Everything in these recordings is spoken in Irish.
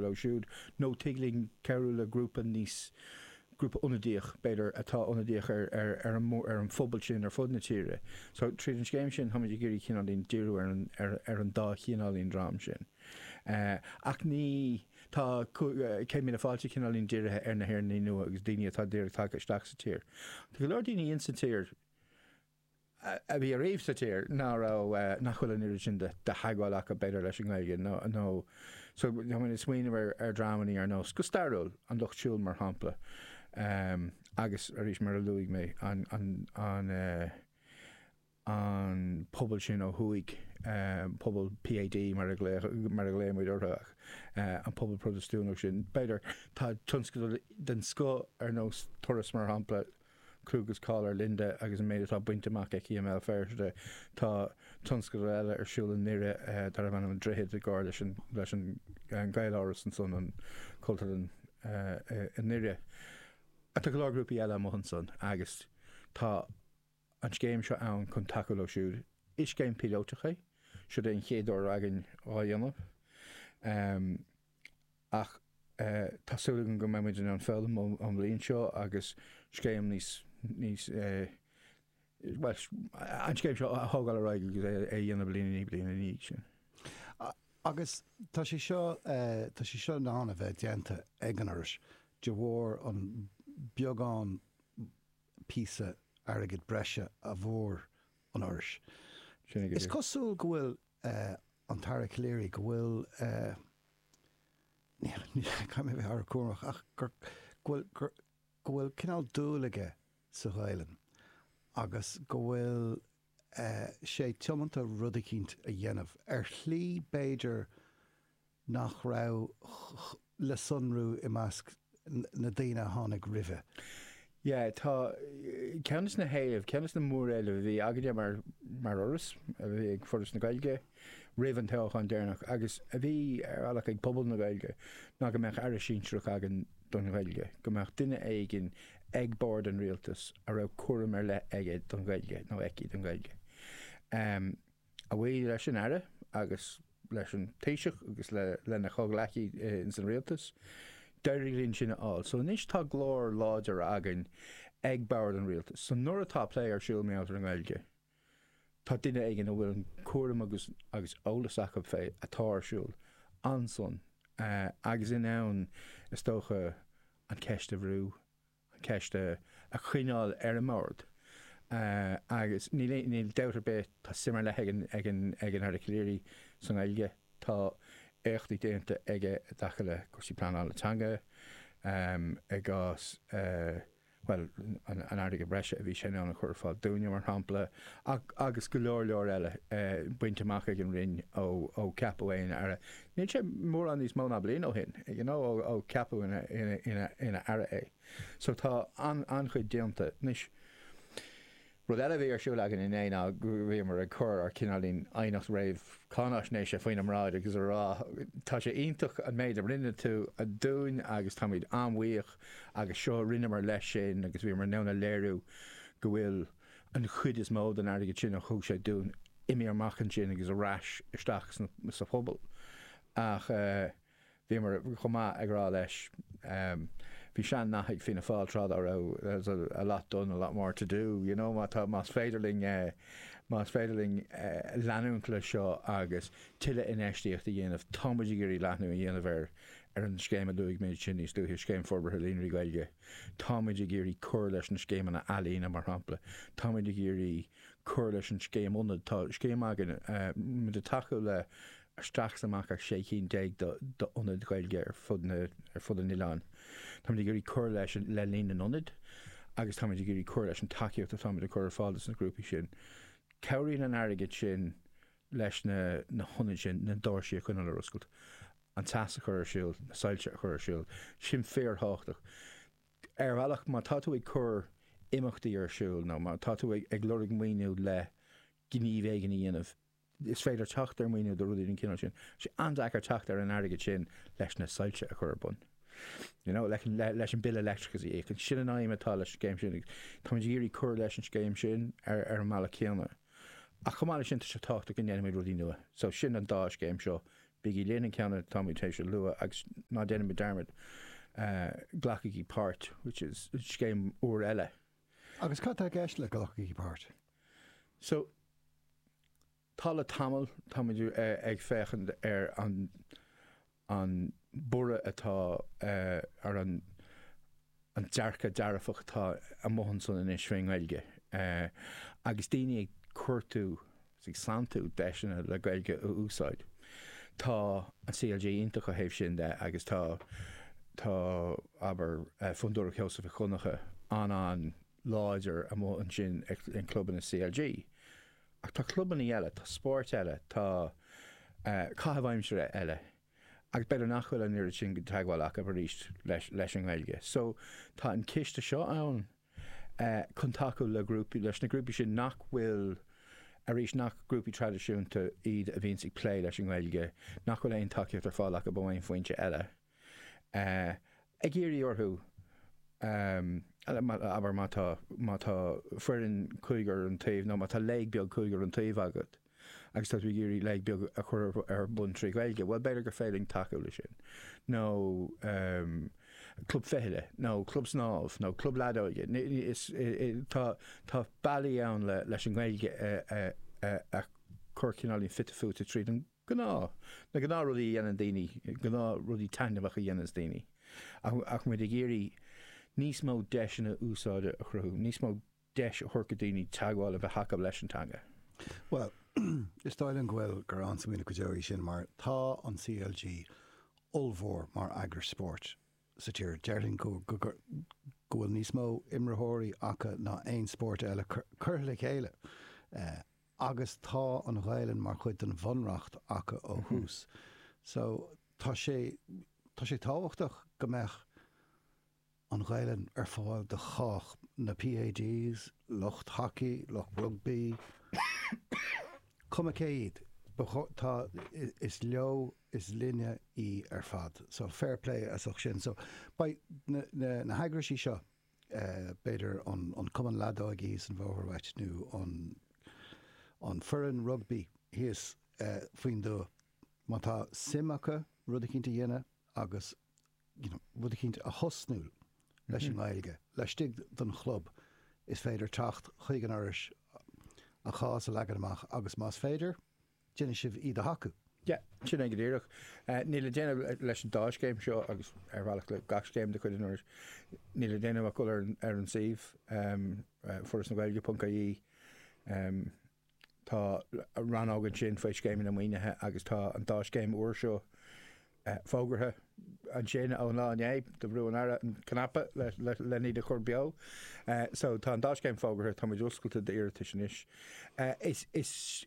cabhrú leo siúd nó tig linn cabhrú le grúpa níos, grúpa ionadaíoch, b'fhéidir, atá ionadaíoch ar, ar, ar an, ar an phobal sin ar fud na tíre. So, tríd an scéim sin, táimid ag iarraidh cineáilín díriú ar an, ar, ar an dá chineáilín dream sin. Ach ní, tá 100,000 Fáilte cineáilín dírithe ar na hÉireannaigh nua agus daoine atá díreach tagtha isteach sa tír. Tá go leor daoine insa tír a bhí ariamh sa tír ná raibh, nach bhfuil an oiread sin de theagmháil acu b'fhéidir leis an nGaeilge nó, nó, so tá mé ag smaoineamh ar, ar dhreamannaí ar nós, go stairiúil, an Lucht Siúil mar shampla, agus arís mar a luaigh mé, an, an, an, an pobal sin ó thuaidh, pobal PAD mar a glaodh, mar a ghlaoigh muid orthu ach an pobal Protastúnach sin, b'fhéidir, tá tionscadal den scoth ar nós Turas mar shampla, clú agus cáil ar Linda agus an méid atá bainte amach aici i mBéal Feirste. Tá tionscadal eile ar siúl i nDoire darbh ainm An Droichead i gcomhar leis an leis an Gaeláras ansan, an Cultúrlann i nDoire. Tá go leor grúpaí eile amuigh ansan agus tá an scéim seo ann chun tacú leo siúd. Is scéim píolótach é. Siod é an chéad uair againn á dhéanamh. Ach tá súil agam go mbeidh muid in ann foghlaim ón bhliain seo agus scéim níos, níos, bhuel, an scéim seo a thógáil ar aghaidh agus é a dhéanamh bliain i ndiaidh bliana ina dhiaidh sin. Agus tá sé seo, tá sé seo in ann a bheith déanta ag an Fhoras de bharr an beagán píosa airgid breise a bhfuair an Fhoras. Is cosúil go bhfuil an tAire Calleary, go bhfuil, caithfidh mé a bheith an-chúramach, ach gur, go bhfuil, gur, go bhfuil cineál dúil aige sa Ghaelainn agus go bhfuil sé tiomanta rud eicínt a dhéanamh ar shlí b'fhéidir nach raibh le sonrú i measc na daoine a tháinig roimhe. Yeah, tá, ceann de na héilimh, ceann de na móréilimh a bhí againne mar, mar Fhoras, a bhí ag Foras na Gaeilge roimh an toghchán deireanach agus a bhí ar bhealach ag pobal na Gaeilge ná go mbeadh aire sinsearach againn don Ghaeilge, go mbeadh duine éigin ag bord an rialtais a raibh cúram ar leith aige don Ghaeilge nó aici don Ghaeilge. A bhuí leis an Aire agus leis an Taoiseach agus lena chomhghleacaí ins an Rialtas, d'éirigh linn sin a fháil. So anois tá glór láidir againn ag bord an Rialtais. So nuair atá plé ar siúl mar gheall ar an nGaeilge, tá duine éigin a bhfuil an cúram agus agus eolas acu fé atá ar siúl ansan agus in ann, is dócha, an cheist a bhrú. an cheist a choinneáil ar an mbord. Agus níl níl dabht ar bith, tá suim ar leith ag an ag an ag an Aire Calleary sa nGaeilge. Tá éachtaí déanta aige i dtaca le cúrsaí pleanála teanga, i gcás, bhuel, an an airgead breise a bhí sé in ann a chur ar fáil dúinne, mar shampla, ach agus go leor leor eile bainte amach ag an Roinn ó ó ceapadh é ina Aire. Níl sé mórán níos mó ná bliain ó shin, you know, ó ó ceapadh ina ina ina ina Aire é. So tá an-chuid déanta. Anois, rud eile a bhí ar siúl againn inné ná go bhíomar ag cur ár cineáilín aighneacht réamh-cháináisnéise faoina mbráid agus a rá, tá sé iontach an méid a rinne tú dúinn agus táimid an-bhuíoch agus seo a rinneamar leis sin agus bhíomar in ann a léiriú go bhfuil an chuid is mó den airgead sin a thug sé dúinn imithe amach ansin agus ar ais isteach sa phobal. Ach. Bhíomar chomh maith ag rá leis, bhí sean-nath ag Fianna Fáil tráth dá raibh, there's a lot done, a lot more to do, you know, má tá, más féidir linn, más féidir linn leanúint leis seo agus tuilleadh infheistíocht a dhéanamh, tá muid ag iarraidh leathnú a dhéanamh ar, ar an scéim a luaigh mé ansin níos luaithe, Scéim Forbartha Líonraí Gaeilge. Tá muid ag iarraidh cur leis na scéimeanna ealaíne, mar shampla. Tá muid ag iarraidh cur leis an scéim ionad. Tá scéim againn, muid ag tacú le isteach is amach ar 16 cinn d'ionaid Ghaeilge ar fud na, ar fud an oileáin. Táimid ag iarraidh cur leis an, le líon na n-ionad agus táimid ag iarraidh cur leis an tacaíocht atáimid ag cur ar fáil dos na grúpaí sin. Cabhraíonn an airgead sin leis na, na hionaid sin na doirsí a choinneáil ar oscailt, an teas a chur ar siúl, na soilse a chur ar siúl. Sin fíorthábhachtach. Ar bhealach, má tá tú ag cur imeachtaí ar siúl nó má tá tú ag, ag lorg maoiniú le gníomh éigin a dhéanamh, Is féidir teacht ar mhaoiniú do rudaí den chineál sin. Tá sé an-deacair teacht ar an airgead sin leis na soilse a chur ar bun. You know, leis an bille leictreachais a íoc. Sin an aidhm atá leis an scéim sin. Táimid ag iarraidh cur leis an scéim sin ar ar an mbealach céanna. Ach chomh maith leis sin, tá sé tábhachtach go ndéanfaimid rudaí nua. So sin an dá scéim seo. Bígí linn, an ceann atáimid tar éis a lua agus ná déanaimid dearmad, Glacaigí Páirt, which is scéim úr eile. Agus cad tá i gceist le Glacaigí Páirt? So, tá le tamall, táimid ag féachaint ar an an borradh atá ar an an dearcadh dearfach atá amuigh ansan anois fén nGaeilge agus daoine ag cuartú is ag santú deiseanna le Gaeilge a úsáid. Tá an CLG iontach ó thaobh sin de agus tá tá abair Fondúireacht Sheosaimh Mhic Dhonncha an-an-láidir amuigh ansin in clubanna CLG. Ach tá clubanna eile, tá spóirt eile, tá caitheamh aimsire eile agus b'fhéidir nach bhfuil an oiread sin teagmháil acu arís leis an nGaeilge. So tá an ciste seo ann chun tacú le grúpaí, leis na grúpaí sin nach bhfuil, arís, nach grúpaí traidisiúnta iad a bhíonns ag plé leis an nGaeilge, nach bhfuil aon tacaíocht ar fáil acu ó aon foinse eile. Ag iarraidh orthu, abair má tá, má tá foireann cúigear an taobh nó má tá léig beag cúigear an taobh agat agus tá tú ag iarraidh léig beag a chur ar bun trí Ghaeilge, bhuel b'fhéidir gur féidir linn tacú leis sin. Nó club fichille, nó club snámh, nó club leadóige. Is, tá, tá bealaí ann leis an nGaeilge a, a chur cineáilín fite fuaite tríd an gnáth, na gnáthrudaí a dhéanann daoine, gnáthrudaí taitneamhacha a dhéananns daoine. Ach muid ag iarraidh níos mó deiseanna úsáide a chruthú, níos mó deis a thabhairt do daoine teagmháil a bheith acu leis an teanga. Bhuel, is dóigh liom go bhfuil, gur an-smaoineamh go deo í sin mar tá an CLG ollmhór mar eagras spóirt sa tír. Déarfainn go go bhfuil níos mó imreoirí acu ná aon spórt eile curtha le chéile. Agus tá an Ghaelainn mar chuid den bhunreacht acu ó thús. So tá sé, tá sé tábhachtach go mbeadh an Ghaelainn ar fáil do chách, na PADs, lucht hacaí, lucht rugbaí, cuma cé iad, ba chóir, tá, is leo, is linne í ar fad. So fair play as ucht sin. So beidh na, na, na heagraisí seo, b'fhéidir an cumann leadóige thíos an bhóthar uait nó an foireann rugbaí thíos faoin dtuath, má tá suim acu rud eicínt a dhéanamh agus you know rud eicínt a thosnú leis an nGaeilge laistigh den chlub, is féidir teacht chuig an Fhoras, a chás a leagan amach agus más féidir, déanfaidh sibh iad a thacú. Yeah, sin é go díreach. Níl le déanamh leis an dá scéim seo agus ar bhealach le gach scéim de chuid an Fhorais, níl le déanamh ach dul ar ar an suíomh, forasnagaeilge.ie. Tá rannóg ansin faoi scéimeanna maoinithe agus tá an dá scéim úr seo fógartha ansin ón lá inné, do bhrú an Aire an cnaipe len iad a chur beo. So tá an dá scéim fógartha, tá muid oscailte d'iarratais anois. Is, is,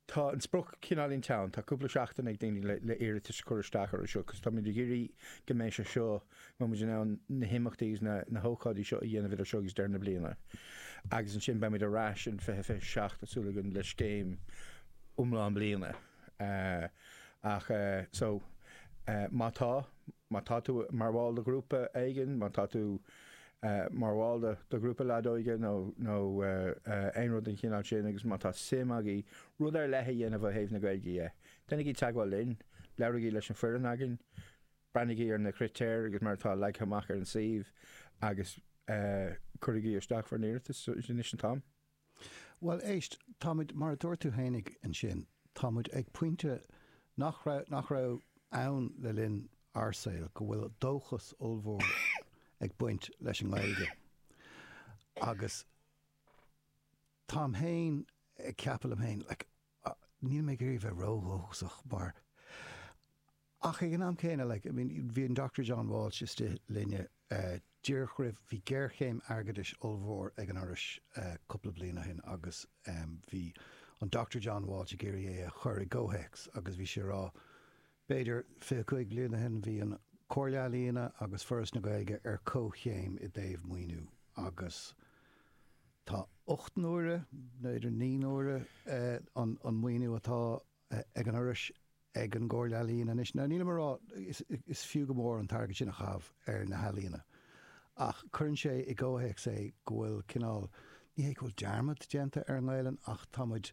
tá an sprioc cineáilín teann, tá cúpla seachtain ag daoine le, le iarratais a chur isteach orthu seo, cos tá muid ag iarraidh go mbeidh sé seo, go mbeidh muid in ann na himeachtaí agus na, na hócáidí seo a dhéanamh idir seo agus deireadh na bliana. Agus ansin beidh muid ar ais in 2027, tá súil againn, le scéim iomlán bliana. Ach so, má tá, má tá tú mar bhall de ghrúpa éigin, má tá tú mar bhall de de ghrúpa leadóige nó nó aon rud den chineál sin agus má tá suim agaibh rud ar leith a dhéanamh ó thaobh na Gaeilge dhe, déanaigí teagmháil linn, labhraigí leis an foireann againn, breathnaigí ar na critéir agus mar atá leagtha amach ar an suíomh agus cuirigí isteach bhur n-iarratas, anois an t-am. Bhuel, éist, táimid, mar a dúirt tú fhéinig ansin, táimid ag pointe nach raibh, nach raibh ann le linn ár saoil, go bhfuil dóchas ollmhór ag baint leis an nGaeilge. Agus táim fhéin ag ceapadh liom fhéin, like, níl mé ag iarraidh bheith ródhóchasach mar, Ach ag an am céanna, like, I mean, bhí an Doctor John Walsh istigh linne díreach roimh, bhí géarchéim airgeadais ollmhór ag an Fhoras cúpla bliain ó shin agus bhí an Doctor John Walsh ag iarraidh é a chur i gcomhthéacs agus bhí sé ag rá, b'fhéidir 25 bliain ó shin bhí an Comhairle Ealaíona agus Foras na Gaeilge ar comhchéim i dtaobh maoiniú agus tá 8 n-uaire, b'fhéidir 9 n-uaire an maoiniú atá ag an Fhoras ag an gComhairle Ealaíon anois. Now nílim ag rá, is fiú go mór an t-airgead sin a chaitheamh ar na healaíona, ach cuireann sé i gcomhthéacs é go bhfuil cineál, ní hé go bhfuil dearmad déanta ar an nGaelainn ach tá muid,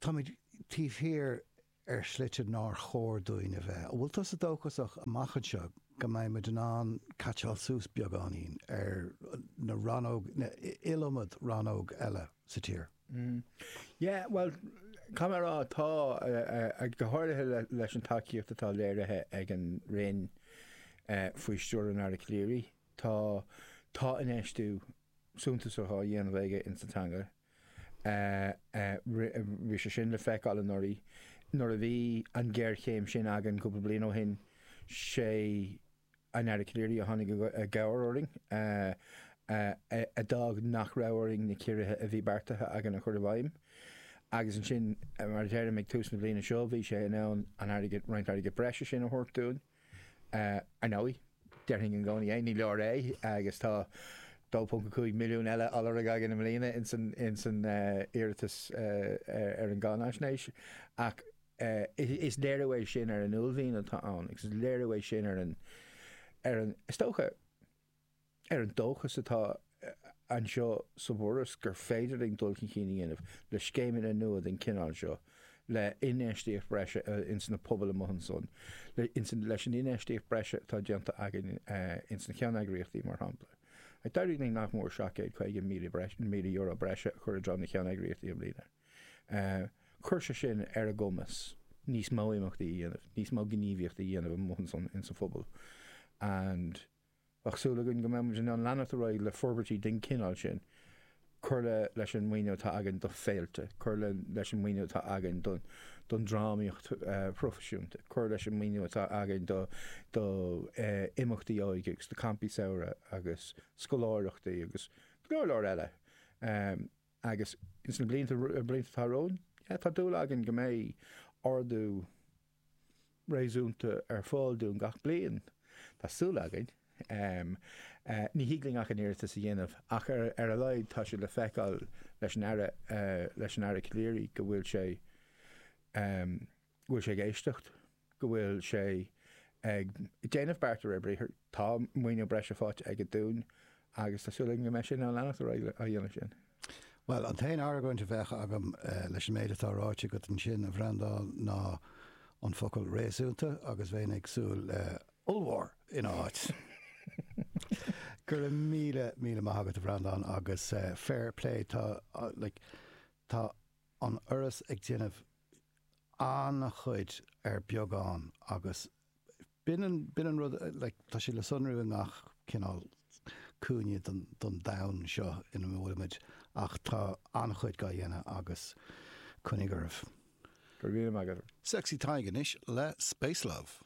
tá muid taobh thiar ar shlite nár chóir dúinn a bheith. An bhfuil tusa dóchasach amach anseo go mbeidh muid in ann caitseáil suas beagáinín ar na rannóg, na iliomad rannóg eile sa tír? Yeah, bhuel, caithfidh mé a rá, tá, go háirithe leis an tacaíocht atá léirithe ag an Roinn faoi stiúir an Aire Calleary, tá, tá infheistiú suntasach á dhéanamh aige insa teanga. Bhí sé sin le feiceáil anuraidh. Nuair a bhí an ghéarchéim sin againn cúpla bliain ó shin, sé an Aire Calleary a tháinig i gcabhair orainn, a d'fhág nach raibh orainn na ciorruithe a bhí beartaithe againn a chur i bhfeidhm. Agus ansin, mar a deirim, ag tús na bliana seo, bhí sé in ann an airgead, roinnt airgid breise sin a thabhairt dúinn. Ar ndóigh, déarfainn i gcónaí é, ní leor é agus tá 2.5 milliún eile á lorg againn i mbliana ins an iarratas ar an gcáinaisnéis. Ach is léiriú é sin ar an uaillmhian atá ann agus is léiriú é sin ar an, ar an, is dócha, ar an dóchas atá anseo sa bhForas gur féidir linn dul chun cinn a dhéanamh le scéimeanna nua den chineál seo, le infheistíocht bhreise ins na pobail amuigh ansan, leis an infheistíocht bhreise atá déanta againn ins na ceanneagraíochtaí, mar shampla. D'éirigh linn nach mór €750,000 breise a chur i dtreo na ceanneagraíochtaí i mbliana. Chuir sé sin ar a gcumas níos mó imeachtaí a dhéanamh, níos mó gníomhaíochta a dhéanamh amuigh ansan ins an phobal and Bheadh súil againn go mbeidh muid in ann leanacht ar aghaidh le forbairtí den chineál sin, cur le leis an maoiniú atá againn do féilte, cur le leis an maoiniú atá againn don don drámaíocht phroifisiúnta, cur leis an maoiniú atá againn do do imeachtaí óige agus do campaí samhraidh agus scoláireachtaí agus go leor leor eile. Agus ins na blianta blianta atá romhainn, yeah, tá dúil againn go mbeidh ardú réasúnta ar fáil dúinn gach bliain. Tá súil againn. Ní thig linn ach an iarratas a dhéanamh, ach ar a laghad tá sé le feiceáil leis an Aire, leis an Aire Calleary go bhfuil sé, go bhfuil sé ag éisteacht, go bhfuil sé ag déanamh beart de réir briathair. Tá maoiniú breise faighte aige dúinn agus tá súil againn go mbeidh sé in ann leanacht ar aghaidh á dhéanamh sin. Bhuel, an t-aon argóint a bheadh agam leis an méid atá ráite agat ansin, a Bhreandáin, ná an focal 'réasúnta' agus bheinn ag súil le 'ollmhór' ina áit. Go raibh míle, míle maith agat, a Bhreandáin, agus fair play, tá, like, tá an Fhoras ag déanamh an-chuid ar beagán agus B'in an, b'in an rud, like, tá sé le sonrú i ngach cineál cúinne den, den domhan seo ina bhfuilimid ach tá an-chuid dhá dhéanamh agus coinnigh oraibh. Go raibh míle maith agat. Sexy Tadhg anois le Space Love.